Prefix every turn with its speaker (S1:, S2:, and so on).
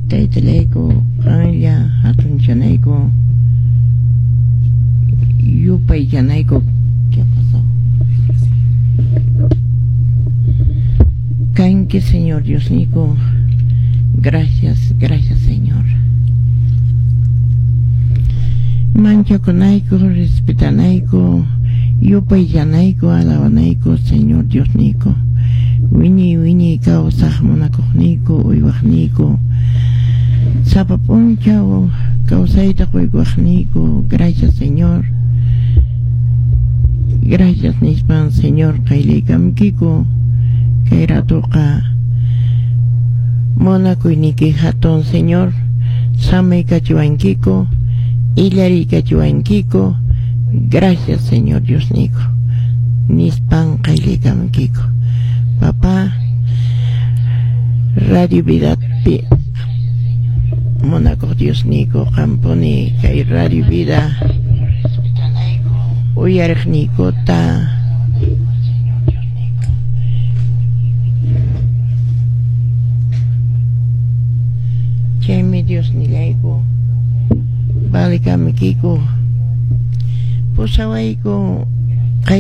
S1: Taytallayku, qanlla hatunchanayku, yupaychanayku. ¿Qué ha pasado? Kanki, Señor Diosniyku. Gracias, gracias, Señor. Manchakunayku, respetanayku, yupaychanayku, alabanayku, Señor Diosniyku. Wiñay wiñay kawsaq munakuqniyku, uywaqniyku. Sapa p'unchaw kawsayta quykuwaqniyku. Gracias, Señor. Gracias nispan, Señor, qayllaykamkiku. Kay ratuqa munakuyniyki hatun, Señor. Samaykachiwankiku, illariykachiwankiku. Gracias, Señor Diosniyku. Nispan qayllaykamkiku. Papá, Radio Vidapi munakuq Diosniyku, qampuni kay Radio Vida uyariqniykuta chaymi Diosnillayku valikamkiku, pusawayku.